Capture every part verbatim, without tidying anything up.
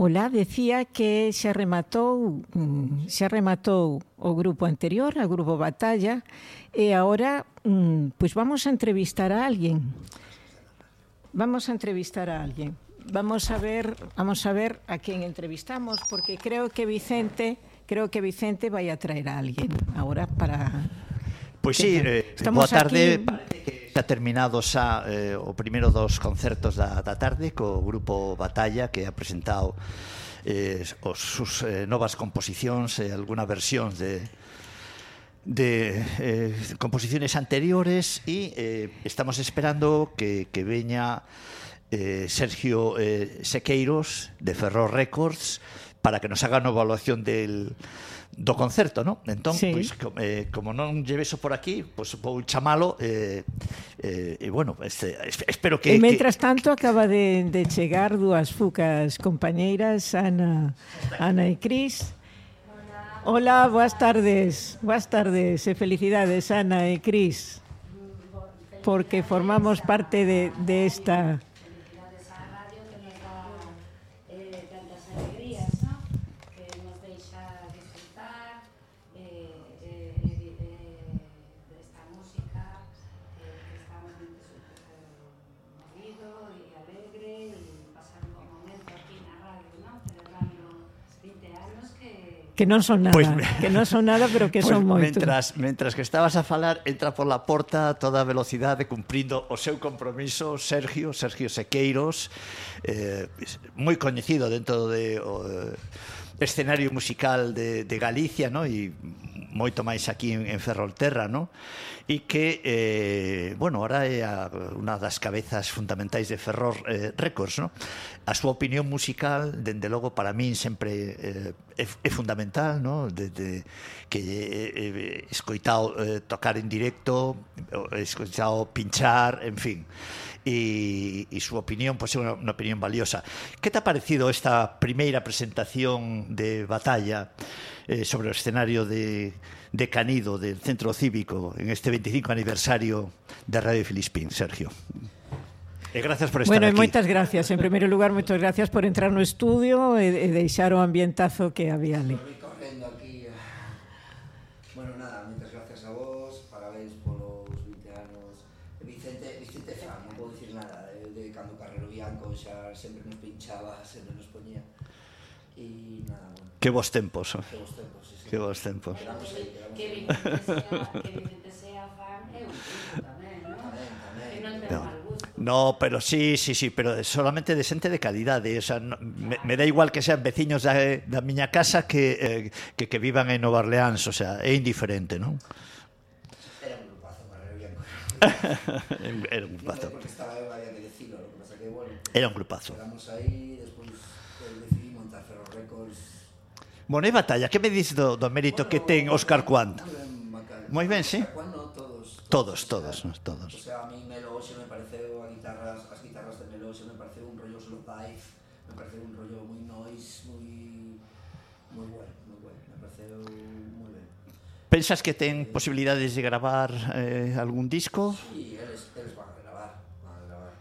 Ola, decía que xa rematou xa rematou o grupo anterior, o grupo Batalla, e agora pois vamos a entrevistar a alguén. Vamos a entrevistar a alguén. Vamos a ver, vamos a ver a quen entrevistamos, porque creo que Vicente, creo que Vicente vai a traer a alguén agora para... Pois sí, eh, boa tarde. Parece que está terminado xa eh, o primeiro dos concertos da, da tarde co grupo Batalla, que ha presentado eh, os, sus eh, novas composicións e eh, alguna versión de de eh, composiciones anteriores e eh, estamos esperando que, que veña eh, Sergio eh, Sequeiros de Ferrol Records para que nos haga unha evaluación del do concerto, ¿no? Entón, sí. Pois, eh, como non lleveso por aquí, pois vou chamalo e eh, eh, bueno, este, espero que... E mentras que... tanto acaba de, de chegar dúas fucas compañeiras, Ana, Ana e Cris. Hola, boas tardes. Boas tardes e felicidades, Ana e Cris, porque formamos parte de, de esta... Que non son nada, pues, que non son nada, pero que pues son moito. Mentras, mentras que estabas a falar, entra por la porta a toda velocidade cumprindo o seu compromiso Sergio, Sergio Sequeiros, eh, moi coñecido dentro de o escenario musical de, de Galicia, ¿no? E moito máis aquí en, en Ferrolterra, ¿no? E que, eh, bueno, ahora é a, unha das cabezas fundamentais de Ferrol eh, Records, ¿no? A súa opinión musical, dende logo, para min sempre eh, é, é fundamental, ¿no? Desde que he eh, escoitado eh, tocar en directo, he escoitado pinchar, en fin. E, e súa opinión, pois, é unha, unha opinión valiosa. Que te ha parecido esta primeira presentación de Batalla eh, sobre o escenario de, de Canido, del Centro Cívico, en este veinticinco aniversario de Radio Filispín, Sergio? E gracias por estar bueno, aquí. Bueno, moitas gracias. En primeiro lugar, moitas gracias por entrar no estudio e, e deixar o ambientazo que había ali. Correndo aquí. Bueno, nada, moitas gracias a vos, parabéns polos vinte anos. Vicente, Vicente fan, non podo dicir nada, de, de cando Carrero Bianco xa sempre nos pinchaba, sempre nos poñía. E nada, bueno. Que vos tempos. Que vos tempos, sí, sí. Que vos tempos. Quedamos aí, quedamos que Vicente sea, que Vicente sea fan é un punto tamén, non? Tamén, tamén. Que non ten No. mal gusto. No, pero sí, sí, sí, pero solamente de xente de calidade, o sea, no, me, me da igual que sean veciños da, da miña casa que, eh, que que vivan en Nova Orleans, o sea, é indiferente, non? Era un grupazo, Carrero Bianco. Era un grupazo. Porque estaba eu, había que decirlo, lo que pasa que, bueno, Era un grupazo. quedamos aí, despois pues, decidí montar Ferrol Records. Bueno, e Batalla, que me dices do, do mérito Bueno, que ten Óscar Cuanda? Moi ben, Macal. Moi ben, sí. Óscar Cuanda, todos. Todos, todos, o sea, todos. O sea, a mí Melo hoxe me pareceu a guitarras, as guitarras de Melo hoxe me pareceu un rollo solo dive, me pareceu un rollo moi noise, moi moi bueno, moi bueno, me pareceu moi ben. Pensas que ten posibilidades de gravar eh, algún disco? Sí, eles, eles van a gravar, van a gravar.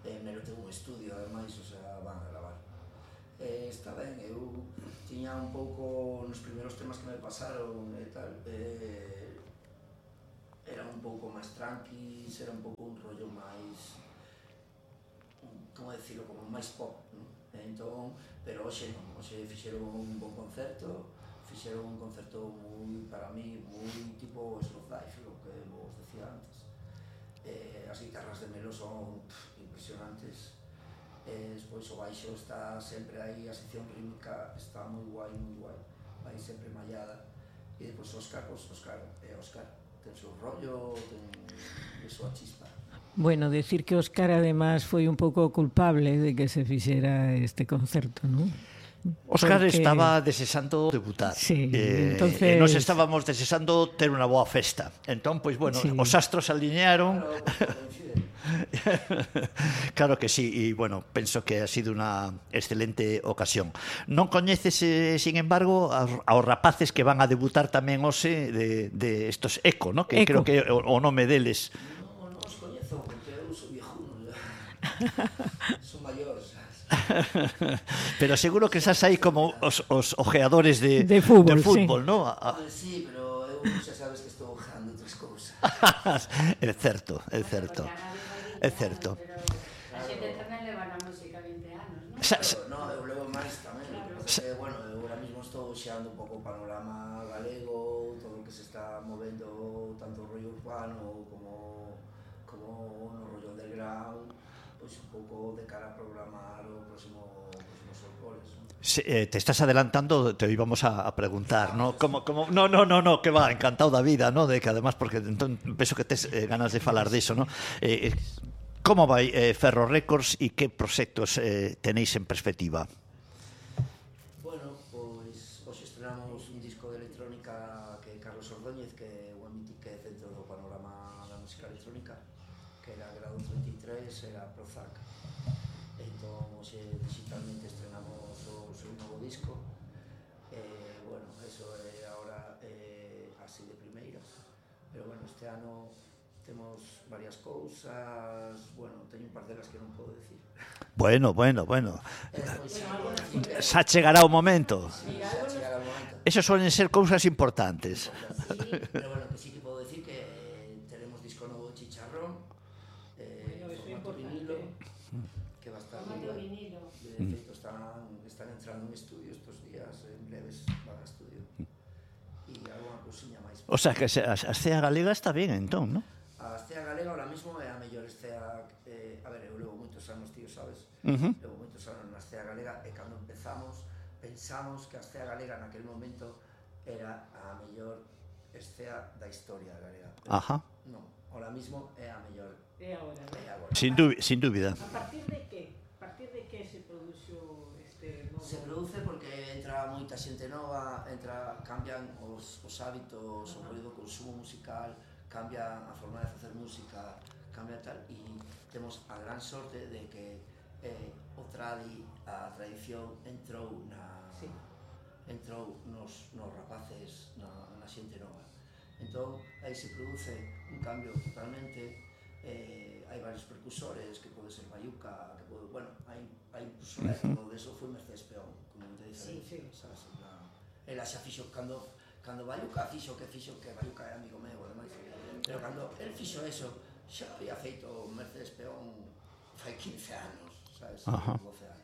Eh, Melo ten un estudio, ademais, o sea, van a gravar. Eh, está ben, eu tiña un pouco nos primeiros temas que me pasaron e tal, eh, era un pouco máis tranquis, era un pouco un rollo máis, como decirlo, como máis pop, non? Entón, pero hoxe non, hoxe fixeron un bon concerto, fixeron un concerto moi, para mí, moi tipo Slow Life, lo que vos decía antes. Eh, as guitarras de Melo son pff, impresionantes, eh, despois o baixo está sempre aí, a sección rítmica está moi guai, moi guai, vai sempre mallada, e depois Óscar, pois Óscar, é Óscar, ten seu rollo, ten a súa chispa. Bueno, decir que Óscar además foi un pouco culpable de que se fixera este concerto, non? Óscar Porque... estaba desexando debutar. Sí, eh, entonces... E nos estábamos desexando ter unha boa festa. Entón, pois, bueno, sí. Os astros alinearon. Claro que sí, e, bueno, penso que ha sido unha excelente ocasión. Non coñeces, eh, sin embargo, aos rapaces que van a debutar tamén hoxe de, de estos Eco, ¿no? Que Eco. Creo que é o, o nome deles. Non, non os coñezo, porque eu sou viejuno, Son maiores, sabes? Pero seguro que estás aí como os, os ojeadores de, De fútbol, de fútbol, sí. ¿no? A- Pues sí, pero eu xa sabes que estou ojeando outras cousas. É certo, é certo. É certo. Pero a xente tamén leva na música vinte anos, non? Sa- sa- Pero, no, eu levo máis tamén. Porque, bueno, eu ahora mismo estou xeando un pouco o panorama galego, todo o que se está movendo, tanto o rollo urbano como, como no rollo underground, pois un pouco de cara a programar o próximo, próximos folclores, non? Se, eh, te estás adelantando, te íbamos a, a preguntar, ¿no? Como, como, no, no, no, no, que va, encantado da vida, ¿no? De que además, porque entón, penso que tes eh, ganas de falar diso, ¿no? Eh, eh, como vai eh, Ferro Records e que proxectos eh, tenéis en perspectiva? Bueno, pois hoxe estrenamos un disco de electrónica que é Carlos Ordóñez, que é o mítico que é dentro do panorama da música electrónica, que era Grado treinta e tres, era Prozac. Entón, hoxe digitalmente estrenamos o seu novo disco. Eh, bueno, eso é agora eh, así de primeiras. Pero bueno, este ano temos varias cousas, bueno, teño un par delas que non podo decir. Bueno, bueno, bueno. Eh, pois, sí, podo decir que Xa chegará o momento. xa chegará o momento. Esos suelen ser cousas importantes. Sí, pero bueno, que sí que puedo decir que eh, tenemos disco nuevo de Chicharrón, eh, Bueno, eso é formato importante. vinilo, que va a estar Formato muy guay. vinilo. De hecho, están, están entrando en estudio estos días, en breves van a estudio. E alguna cousiña máis. O sea, que se- a, a escena galega está bien, entón, ¿no? A escena galega ahora mismo é a mellor escena, eh, a ver, eu levo moitos anos, tío, sabes? Uh-huh. Levo moitos anos na escena galega e cando empezamos pensamos que a escena galega naquel momento era a mellor escena da historia galega. Pero Ajá. non, ahora mismo é a mellor, E agora, é agora. Sin, dú- sin dúbida. a partir de que? A partir de que se produxo este novo? Se produce porque entra moita xente nova, entra, cambian os, os hábitos, o rollo do consumo musical, cambia a forma de facer música, cambia tal, e temos a gran sorte de que eh, o tradi, a tradición entrou na Sí. entrou nos, nos rapaces, na, na xente nova. Entón, aí se produce un cambio totalmente, eh, hai varios percusores, que pode ser Bayuca, que pode, bueno, hai, hai incluso uh -huh. todo eso foi Mercedes Peón, con moita diferencia, Sí, sí. sabes? Na, ela xa fixo, cando, cando Bayuca fixo, que fixo, que Bayuca é amigo meu, ademais, pero cando el fixo eso, xa había feito Mercedes Peón fai quince anos, sabes? Ajá. doce anos.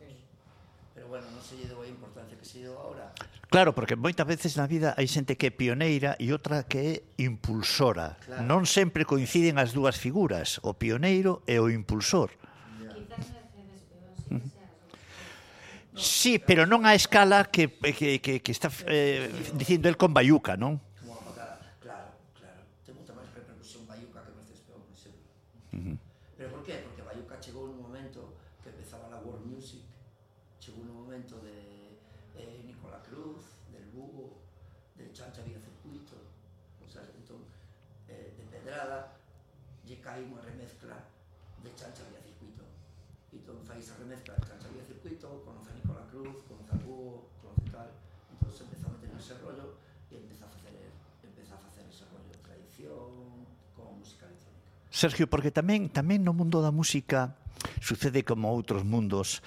Pero bueno, non se lle deu a importancia que se lle deu agora. Claro, porque moitas veces na vida hai xente que é pioneira e outra que é impulsora. Claro. Non sempre coinciden as dúas figuras, o pioneiro e o impulsor. Quizás Mercedes Peón sí que sea así. Sí, pero non a escala que, que, que, que está eh, dicindo el con Bayuca, non? Como a pacada, claro, claro. Ten moita máis repercusión Bayuca que Mercedes Peón, por exemplo. Uh-huh. Pero por qué? Porque Bayuca chegou nun momento que empezaba la world music, chegou nun momento de eh, Nicola Cruz, del Bugo, de Chancha Vía Circuito, o sea, entón, eh, de Pedrada, lle cae unha remezcla de Chancha Vía Circuito. Entón fai esa remezcla de Chancha Vía Circuito, conoce a Nicola Cruz, conoce a Bugo, conoce tal, entón se empeza a meter nese rollo e empeza a facer, empeza a facer ese rollo de tradición con música electrónica. Sergio, porque tamén tamén no mundo da música sucede como outros mundos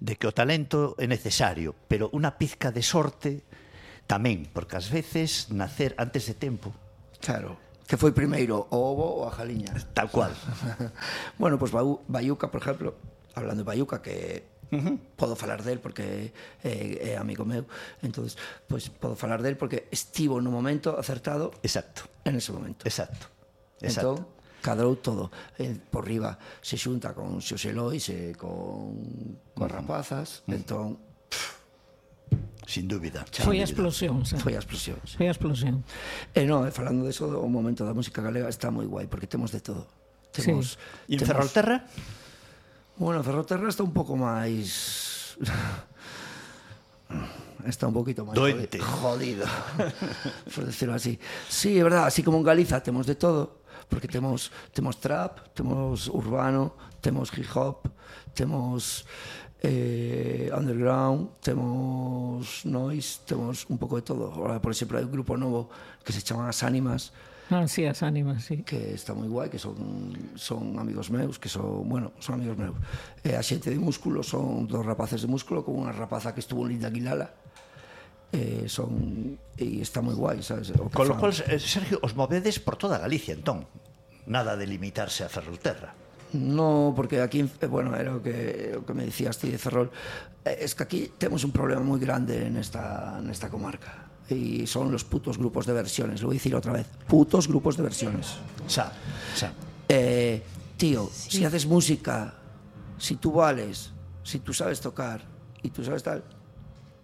de que o talento é necesario, pero unha pizca de sorte tamén, porque ás veces nacer antes de tempo. Claro. Que foi primeiro, o ovo ou a jaliña? Tal cual. Bueno, pois pues, Bayuca, por exemplo, hablando de Bayuca, que uh-huh. podo falar del porque é, é amigo meu, entonces, pois pues, podo falar del porque estivo no momento acertado. Exacto. En ese momento. Exacto. Exacto. Entón, cadrou todo. Eh, por riba se xunta con Xosé Lois e con, con rapazas, uh-huh. entón, sin dúbida. Foi a explosión, xa. foi a explosión. Sí. Foi a explosión. E non, falando de eso, o momento da música galega está moi guai, porque temos de todo. Temos, E en temos... Ferrolterra? Bueno, Ferrolterra está un pouco máis... está un poquito máis doente, jodido, por decirlo así. Sí, é verdad, así como en Galiza temos de todo, porque temos temos trap, temos urbano, temos hip hop, temos eh, underground, temos noise, temos un pouco de todo. Ahora, por exemplo, hai un grupo novo que se chama As Ánimas, Ah, sí, as ánimas, sí. que está moi guai, que son, son amigos meus, que son, bueno, son amigos meus. E a xente de Músculo son dos rapaces de Músculo con unha rapaza que estuvo en Linda Aguilala. Eh, son, e está moi guai, sabes? O que Con lo fan. cual, eh, Sergio, os movedes por toda Galicia, entón. Nada de limitarse a Ferrolterra. No, porque aquí, eh, bueno, era o que, o que me decías ti de Ferrol. Eh, es que aquí temos un problema moi grande nesta, nesta comarca. Y son los putos grupos de versiones. Lo voy a decir otra vez. Putos grupos de versiones. Xa, xa. Eh, tío, sí. Si haces música, si tú vales, si tú sabes tocar y tú sabes tal,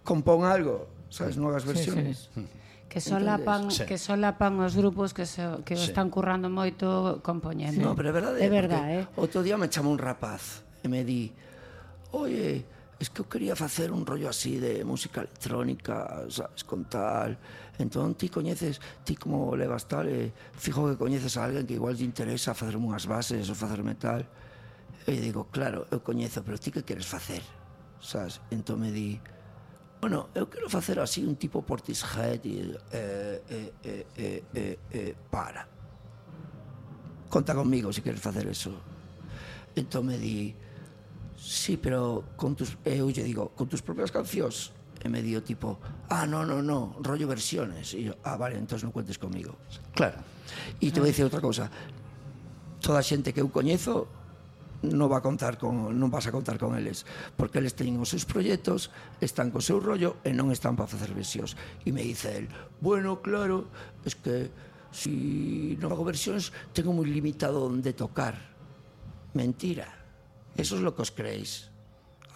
compón algo, ¿sabes? No hagas versiones. Sí, sí. Que solapan, Sí. que solapan os grupos que, se, que Sí. están currando moito compoñendo. No, pero é verdade. É verdade, eh? Outro día me chamou un rapaz e me di, oye, es que eu quería facer un rollo así de música electrónica, sabes, con tal. Entón, ti coñeces, ti como levas tal, e fijo que coñeces a alguén que igual te interesa facerme unhas bases ou facerme tal. E digo, claro, eu coñezo, pero ti que queres facer? Sabes? Entón me di, bueno, eu quero facer así un tipo Portishead e eh, eh, eh, eh, eh, eh, para. Conta conmigo se queres facer eso. Entón me di, sí, pero con tus, eu lle digo, con tus propias cancións. E me dio tipo, ah, no, no, no, rollo versiones. E yo, ah, vale, entonces non cuentes conmigo. Claro. E te vou dicir outra cousa. Toda a xente que eu coñezo non va a contar con, non vas a contar con eles, porque eles teñen os seus proxectos, están co seu rollo e non están para facer versións. E me dice el, bueno, claro, es que si non hago versións tengo moi limitado onde tocar. Mentira. Eso es lo que os creéis.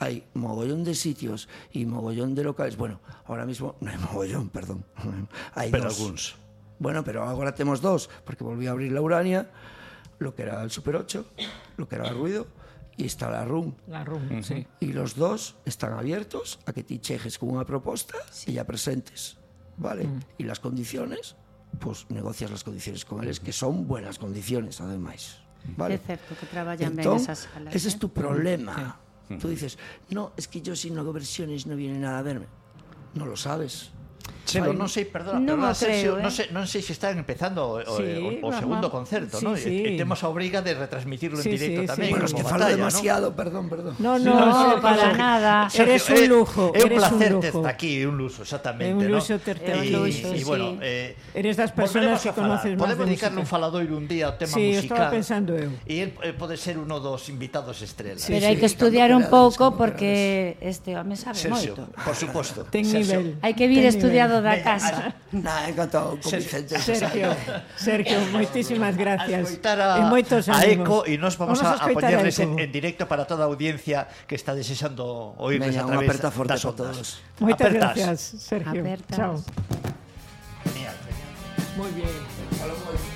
Hay mogollón de sitios y mogollón de locales. Bueno, ahora mismo no hay mogollón, perdón. Hay Pero dos. algúns. Bueno, pero ahora tenemos dos, porque volví a abrir la Urania, lo que era el Super ocho, lo que era el Ruido, y está la RUM. La RUM, sí. Y los dos están abiertos a que te chejes con una propuesta y ya presentes, ¿vale? Mm. Y las condiciones, pues negocias las condiciones con ellos, que son buenas condiciones, además. ¿Vale? É certo que traballan ben Entón, esas salas. ese eh? es tu problema. Sí. Tú dices, no, es que yo si no hago versiones no viene nada a verme. No lo sabes. Chelo, non sei, perdona, Non perdona, o creo, Sergio, eh. non sei, non sei se están empezando o, Sí, o, o vamos. segundo concerto, Sí, ¿no? sí. E, e temos a obriga de retransmitirlo Sí, en directo sí, tamén. sí. Bueno, es que como falo batalla, demasiado, perdón, perdón. No, No, no, para Sergio, nada. Eres un lujo, É un eres un placer lujo. terte aquí, un luxo, exactamente, É un luxo ¿no? terte É un E- luxo, e, sí. bueno, eh, Eres das persoas volveremos que a falar. conoces máis Podemos de dedicarle un música. faladoiro un día ao tema Sí, musical. estaba pensando eu. E el eh, pode ser uno dos invitados estrela. Sí, Pero sí, hai que estudiar un cando pouco querades, cando porque este home sabe Sergio, moito. por suposto. Ten Sergio. nivel. Hai que vir Ten estudiado nivel. da Veña, casa. Nah, encantado con Sergio, Vicente. Sergio, Sergio, moitísimas A gracias. escoitar a, E moitos a ánimos. Eco e nos vamos, a, a escoitar poñerles en, Eco. en directo para toda a audiencia que está desexando oírles Veña, a unha través aperta forte das para ondas. todos. Moitas Apertas. gracias, Sergio. Apertas. Chao. Genial, genial. Muy bien.